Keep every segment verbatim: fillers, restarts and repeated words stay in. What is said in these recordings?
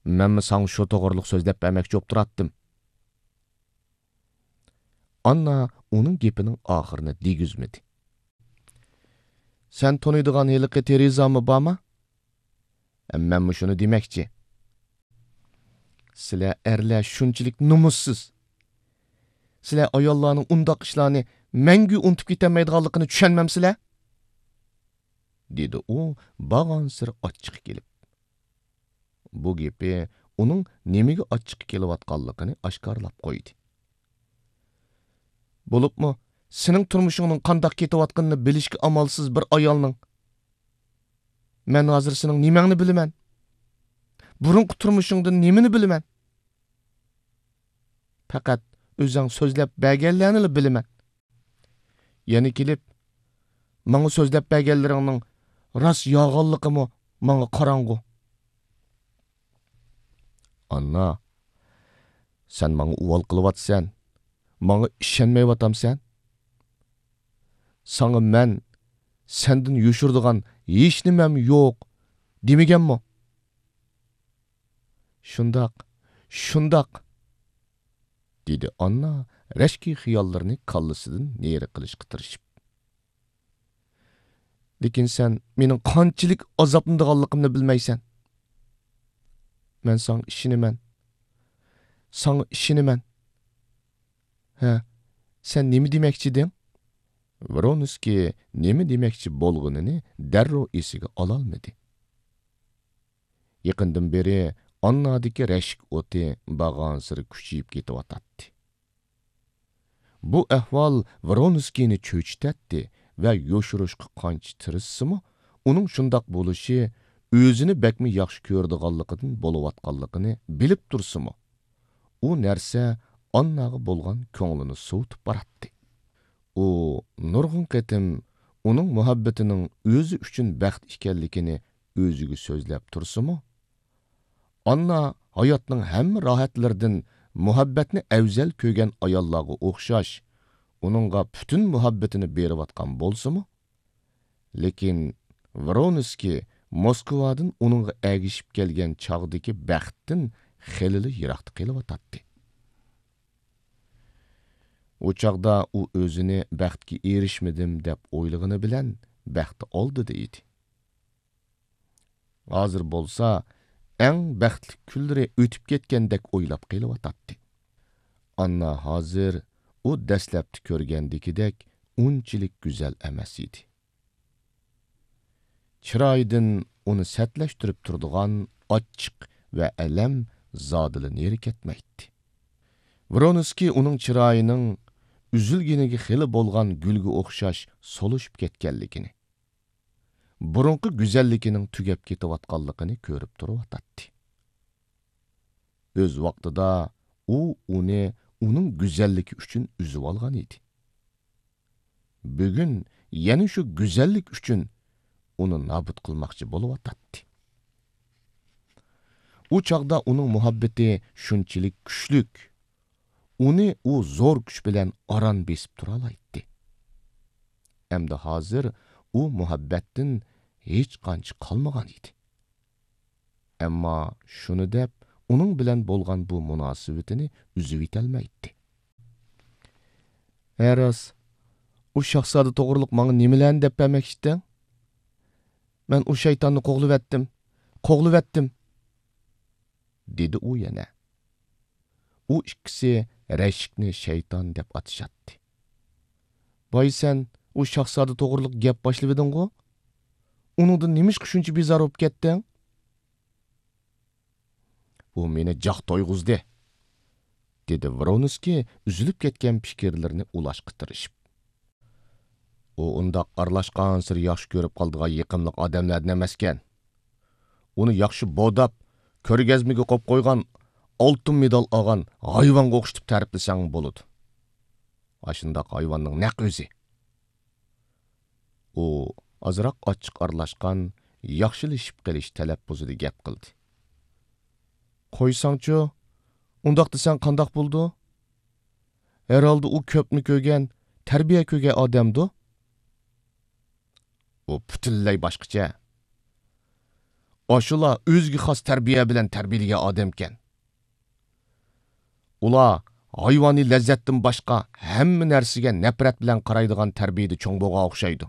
مەنمۇ ساڭا شۇ توغرىلىق سۆزلەپ بەرمەكچى بوپ تۇراتتىم. ئاننا ئۇنىڭ گېپىنىڭ ئاخىرىنى دېگۈزمىدى. سەن تونۇيدىغان ھېلىقى تېرېزامۇ بارما؟ مەنمۇ شۇنى دېمەكچى. سىلەر ئەرلەر شۇنچىلىك نومۇسسىز. سىلەر ئاياللارنىڭ ئۇنداق ئىشلارنى مەڭگۈ ئۇنتۇپ كېتەلمەيدىغانلىقىنى چۈشەنمەمسىلەر؟ دېدى ئۇ بارغانسېرى ئاچچىقى كېلىپ. بۇ گېپى ئۇنىڭ نېمىگە ئاچچىقى كېلىۋاتقانلىقىنى ئاشكارىلاپ قويدى. بولۇپمۇ سېنىڭ تۇرمۇشۇڭنىڭ قانداق كېتىۋاتقىنىنى بىلىشكە ئامالسىز بىر ئايالنىڭ، مەن ھازىر سېنىڭ نېمەڭنى بىلىمەن؟ بۇرۇنقى تۇرمۇشۇڭدىن نېمىنى بىلىمەن؟ پەقەت ئۆزۈڭ سۆزلەپ بەرگەنلەرنىلا بىلىمەن. يەنە كېلىپ، ماڭا سۆزلەپ بەرگەنلىرىڭنىڭ راست يالغانلىقىمۇ ماڭا قاراڭغۇ. ئاننا، سەن ماڭا ئۇۋال قىلىۋاتىسەن، ماڭا ئىشەنمەيۋاتامسەن؟ ساڭا مەن سەندىن يوشۇرىدىغان ھېچنېمەم يوق دېمىگەنمۇ؟ شۇنداق، شۇنداق، دېدى ئاننا رەشكى خىياللىرىنى كاللىسىدىن نېرى قىلىشقا تىرىشىپ. لېكىن سەن مېنىڭ قانچىلىك ئازابلىنىدىغانلىقىمنى بىلمەيسەن. مەن ساڭا ئىشىنىمەن. ساڭا ئىشىنىمەن. ھە، سەن نېمە دېمەكچىدىڭ؟ ۋرونسكىي نېمە دېمەكچى بولغىنىنى دەررۇ ئېسىگە ئالالمىدى. يېقىندىن بېرى ئاننادىكى رەشك ئوتى بارغانسېرى كۈچىيىپ كېتىۋاتاتتى. بۇ ئەھۋال ۋرونسكىينى چۆچۈتەتتى ۋە يوشۇرۇشقا قانچە تىرىشسىمۇ، ئۇنىڭ شۇنداق بولۇشى ئۆزىنى بەكمۇ ياخشى كۆرىدىغانلىقىدىن بولۇۋاتقانلىقىنى بىلىپ تۇرسىمۇ، ئۇ نەرسە ئانناغا بولغان كۆڭلىنى سوۋۇتۇپ باراتتى. ئۇ نۇرغۇن قېتىم ئۇنىڭ مۇھەببىتىنىڭ ئۆزى ئۈچۈن بەخت ئىكەنلىكىنى ئۆزىگە سۆزلەپ تۇرسىمۇ، ئاننا ھاياتنىڭ ھەممە راھەتلىرىدىن مۇھەببەتنى ئەۋزەل كۆرگەن ئاياللارغا ئوخشاش، ئۇنىڭغا پۈتۈن مۇھەببىتىنى بېرىۋاتقان بولسىمۇ، لېكىن ۋرونسكىي موسكۋادىن ئۇنىڭغا ئەگىشىپ كەلگەن چاغدىكى بەختتىن خېلىلا يىراقتا قېلىۋاتاتتى. ئۇ چاغدا ئۇ ئۆزىنى بەختكە ئېرىشمىدىم دەپ ئويلىغىنى بىلەن بەخت ئالدىدا ئىدى. ھازىر بولسا ئەڭ بەختلىك كۈنلىرى ئۆتۈپ كەتكەندەك ئويلاپ قېلىۋاتاتتى. ئاننا ھازىر ئۇ دەسلەپتە كۆرگەندىكىدەك ئۇنچىلىك گۈزەل ئەمەس ئىدى. چىرايىدىن ئۇنى سەتلەشتۈرۈپ تۇرىدىغان ئاچچىق ۋە ئەلەم زادىلا نېرى كەتمەيتتى. ۋرونسكىي ئۇنىڭ چىرايىنىڭ ئۈزۈلگىنىگە خېلى بولغان گۈلگە ئوخشاش سولۇشۇپ كەتكەنلىكىنى، بۇرۇنقى گۈزەللىكىنىڭ تۈگەپ كېتىۋاتقانلىقىنى كۆرۈپ تۇرۇۋاتاتتى. ئۆز ۋاقتىدا ئۇ ئۇنى ئۇنىڭ گۈزەللىكى ئۈچۈن ئۈزۈۋالغان ئىدى. بۈگۈن يەنە شۇ گۈزەللىك ئۈچۈن ئۇنى نابۇت قىلماقچى بولۇۋاتاتتى. ئۇ چاغدا ئۇنىڭ مۇھەببىتى شۇنچىلىك كۈچلۈك، ئۇنى ئۇ زور كۈچ بىلەن ئاران بېسىپ تۇرالايتتى. ئەمدى ھازىر ئۇ مۇھەببەتتىن ھېچقانچە قالمىغان ئىدى. ئەمما شۇنى دەپ، ئۇنىڭ بىلەن بولغان بۇ مۇناسىۋىتىنى ئۈزۈۋېتەلمەيتتى. ھە راست، ئۇ شاھزادە توغرىلىق ماڭا نېمىلەرنى دەپ بەرمەكچىتىڭ؟ مەن ئۇ شەيتاننى قوغلىۋەتتىم، قوغلىۋەتتىم، دېدى ئۇ يەنە. ئۇ ئىككىسى رەشكنى شەيتان دەپ ئاتىشاتتى. باي سەن ئۇ شاھزادە توغرىلىق گەپ باشلىۋىدىڭغۇ؟ ئۇنىڭدىن نېمىشقا شۇنچە بىزار بولۇپ كەتتىڭ؟ ئۇ مېنى جاق تويغۇزدى، دېدى ۋرونسكىي ئۈزۈلۈپ كەتكەن پىكىرلىرىنى ئۇلاشقا تىرىشىپ. ئۇ ئۇنداق ئارىلاشقانسېرى ياخشى كۆرۈپ قالىدىغان يېقىملىق ئادەملەردىن ئەمەسكەن. ئۇنى ياخشى بوداپ، كۆرگەزمىگە قويۇپ قويغان، ئالتۇن مېدال ئالغان ھايۋانغا ئوخشىتىپ تەرىپلىسەڭ بولىدۇ. ئاشۇنداق ھايۋاننىڭ نەق ئۆزى. ئۇ ئازراق ئاچچىق ئارىلاشقان، ياخشىلىشىپ قېلىش تەلەپپۇزىدا گەپ قىلدى. قويساڭچۇ، ئۇنداق دېسەڭ قانداق بولىدۇ؟ ھەرھالدا ئۇ كۆپنى كۆرگەن، تەربىيە كۆرگەن ئادەمدۇ؟ ئۇ پۈتۈنلەي باشقىچە. ئاشۇلار ئۆزىگە خاس تەربىيە بىلەن تەربىيەلىگەن ئادەمكەن. ئۇلار ھايۋانىي لەززەتتىن باشقا ھەممە نەرسىگە نەپرەت بىلەن قارايدىغان تەربىيەدە چوڭ بولغان ئوخشايدۇ.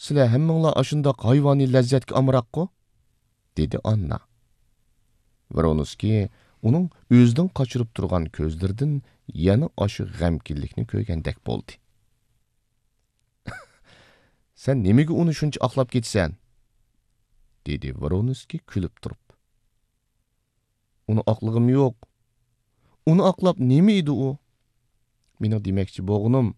سىلەر ھەممىڭلار ئاشۇنداق ھايۋانىي لەززەتكە ئامراققۇ؟ دېدى ئاننا. ۋرونسكىي ئۇنىڭ ئۆزىدىن قاچۇرۇپ تۇرغان كۆزلىرىدىن يەنە ئاشۇ غەمكىنلىكنى كۆرگەندەك بولدى. سەن نېمىگە ئۇنى شۇنچە ئاقلاپ كېتىسەن؟ دېدى ۋرونسكىي كۈلۈپ تۇرۇپ. ئۇنى ئاقلىغۇم يوق. ئۇنى ئاقلاپ نېمە ئىدى ئۇ؟ مېنىڭ دېمەكچى بولغىنىم،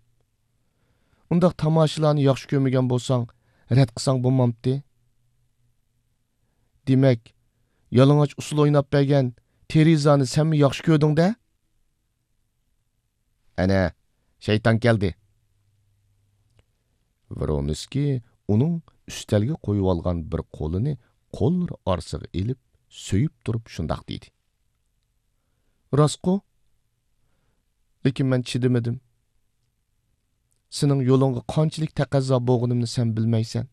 ئۇنداق تاماشىلارنى ياخشى كۆرمىگەن بولساڭ، رەت قىلساڭ بولمامتى؟ دېمەك، يالىڭاچ ئۇسسۇل ئويناپ بەرگەن تېرېزانى سەنمۇ ياخشى كۆردۈڭ-دە؟ ئەنە، شەيتان كەلدى. ۋرونسكىي ئۇنىڭ ئۈستەلگە قويۇۋالغان بىر قولىنى قوللىرى ئارىسىغا ئېلىپ، سۆيۈپ تۇرۇپ شۇنداق دېدى. راستقۇ؟ لېكىن مەن چىدىمىدىم. سېنىڭ يولۇڭغا قانچىلىك تەقەززا بولغىنىمنى سەن بىلمەيسەن.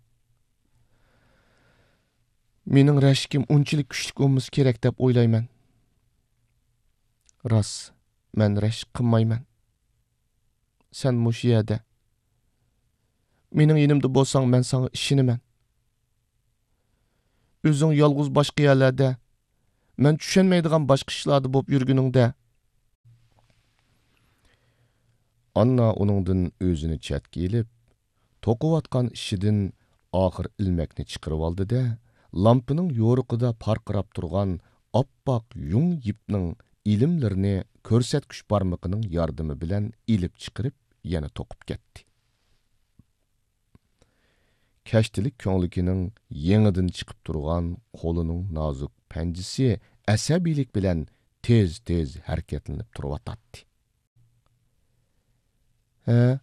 مېنىڭ رەشكىم ئۇنچىلىك كۈچلۈك بولمىسا كېرەك دەپ ئويلايمەن. راست، مەن رەشك قىلمايمەن. سەن مۇشۇ يەردە. مېنىڭ يېنىمدا بولساڭ، مەن ساڭا ئىشىنىمەن. ئۆزۈڭ يالغۇز باشقا يەرلەردە، مەن چۈشەنمەيدىغان باشقا ئىشلاردا بولۇپ يۈرگىنىڭدە. ئاننا ئۇنىڭدىن ئۆزىنى چەتكە ئېلىپ، توقۇۋاتقان ئىشىدىن ئاخىر ئىلمەكنى چىقىرىۋالدى-دە، لامپىنىڭ يورۇقىدا پارقىراپ تۇرغان ئاپئاق يۇڭ يىپنىڭ ئىلىملىرىنى كۆرسەتكۈچ بارمىقىنىڭ ياردىمى بىلەن ئېلىپ چىقىرىپ، يەنە توقۇپ كەتتى. كەشتىلىك كۆڭلىكىنىڭ يېڭىدىن چىقىپ تۇرغان قولىنىڭ نازۇك پەنجىسى ئەسەبىيلىك بىلەن تېز-تېز ھەرىكەتلىنىپ تۇرۇۋاتاتتى. ھە،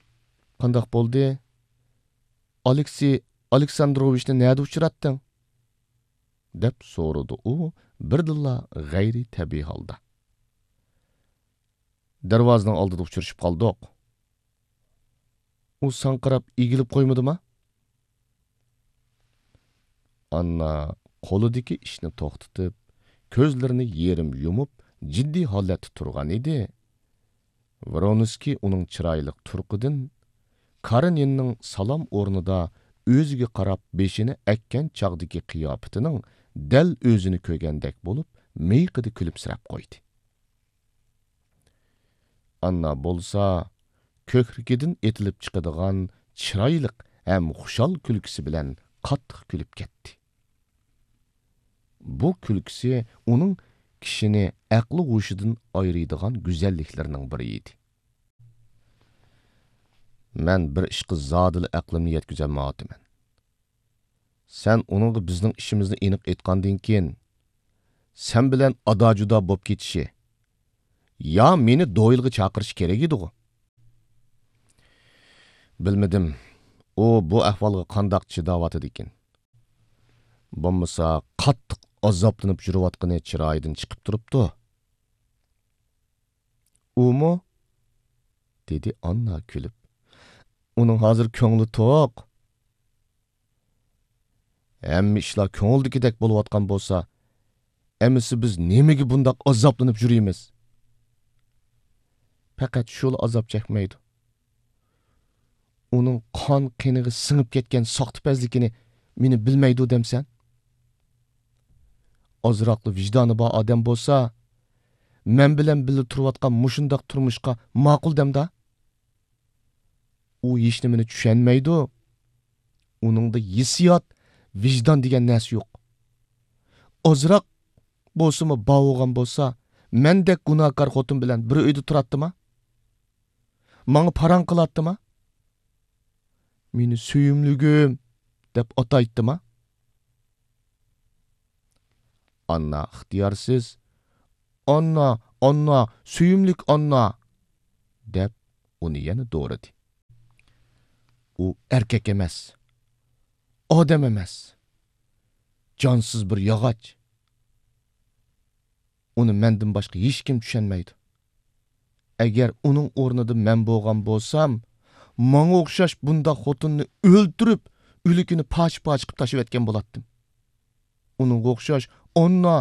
قانداق بولدى؟ ئالېكسېي ئالېكساندروۋىچنى نەدە ئۇچراتتىڭ؟ دەپ سورىدى ئۇ بىردىنلا غەيرىي تەبىئىي ھالدا. دەرۋازىنىڭ ئالدىدا ئۇچرىشىپ قالدۇق. ئۇ ساڭقىراپ ئېگىلىپ قويمىدىما؟ ئاننا قولىدىكى ئىشنى توختىتىپ، كۆزلىرىنى يېرىم يۇمۇپ، جىددىي ھالەتتە تۇرغان ئىدى. ۋرونسكىي ئۇنىڭ چىرايلىق تۇرقىدىن، كارېنىننىڭ سالام ئورنىدا ئۆزىگە قاراپ بېشىنى ئەگكەن چاغدىكى قىياپىتىنىڭ دەل ئۆزىنى كۆرگەندەك بولۇپ، مىيىقىدا كۈلۈمسىرەپ قويدى. ئاننا بولسا كۆكرىكىدىن ئېتىلىپ چىقىدىغان چىرايلىق ھەم خۇشال كۈلكىسى بىلەن قاتتىق كۈلۈپ كەتتى. بۇ كۈلكىسى ئۇنىڭ كىشىنى ئەقلى ھوشىدىن ئايرىيدىغان گۈزەللىكلىرىنىڭ بىرى ئىدى. مەن بىر ئىشقا زادىلا ئەقلىمنى يەتكۈزەلمەيۋاتىمەن. سەن ئۇنىڭغا بىزنىڭ ئىشىمىزنى ئېنىق ئېيتقاندىن كېيىن، سەن بىلەن ئادا-جۇدا بوپ كېتىشى يا مېنى دويىلغا چاقىرىشى كېرەك ئىدىغۇ؟ بىلمىدىم، ئۇ بۇ ئەھۋالغا قانداق چىداۋاتىدىكىن. بولمىسا، قاتتىق ئازابلىنىپ يۈرۈۋاتقىنى چىرايىدىن چىقىپ تۇرۇپتۇ. ئۇمۇ؟ دېدى ئاننا كۈلۈپ. ئۇنىڭ ھازىر كۆڭلى توق. ھەممە ئىشلار كۆڭۈلدىكىدەك بولۇۋاتقان بولسا، ئەمىسە بىز نېمىگە بۇنداق ئازابلىنىپ يۈرىمىز؟ پەقەت شۇلا ئازاب چەكمەيدۇ. ئۇنىڭ قان قېنىغا سىڭىپ كەتكەن ساختىپەزلىكىنى مېنى بىلمەيدۇ دەمسەن؟ ئازراقلا ۋىجدانى بار ئادەم بولسا، مەن بىلەن بىللە تۇرۇۋاتقان مۇشۇنداق تۇرمۇشقا ماقۇل دەمدا؟ ئۇ ھېچنېمىنى چۈشەنمەيدۇ. ئۇنىڭدا ھېسسىيات، ۋىجدان دېگەن نەرسە يوق. ئازراق بولسىمۇ بار بولغان بولسا، مەندەك گۇناھكار خوتۇن بىلەن بىر ئۆيدە تۇراتتىما؟ ماڭا پاراڭ قىلاتتىما؟ مېنى سۆيۈملۈكۈم دەپ ئاتايتتىما؟ ئاننا ئىختىيارسىز، «ئاننا، ئاننا، سۆيۈملۈك ئاننا!» دەپ، ئۇنى يەنە دورىدى. ئۇ ئەركەك ئەمەس، ئادەم ئەمەس، جانسىز بىر ياغاچ. ئۇنى مەندىن باشقا ھېچكىم چۈشەنمەيدۇ. ئەگەر ئۇنىڭ ئورنىدا مەن بولغان بولسام، ماڭا ئوخشاش بۇنداق خوتۇننى ئۆلتۈرۈپ، ئۆلۈكىنى پارچە-پارچە قىلىپ تاشلىۋەتكەن بولاتتىم. ئۇنىڭغا ئوخشاش ئاننا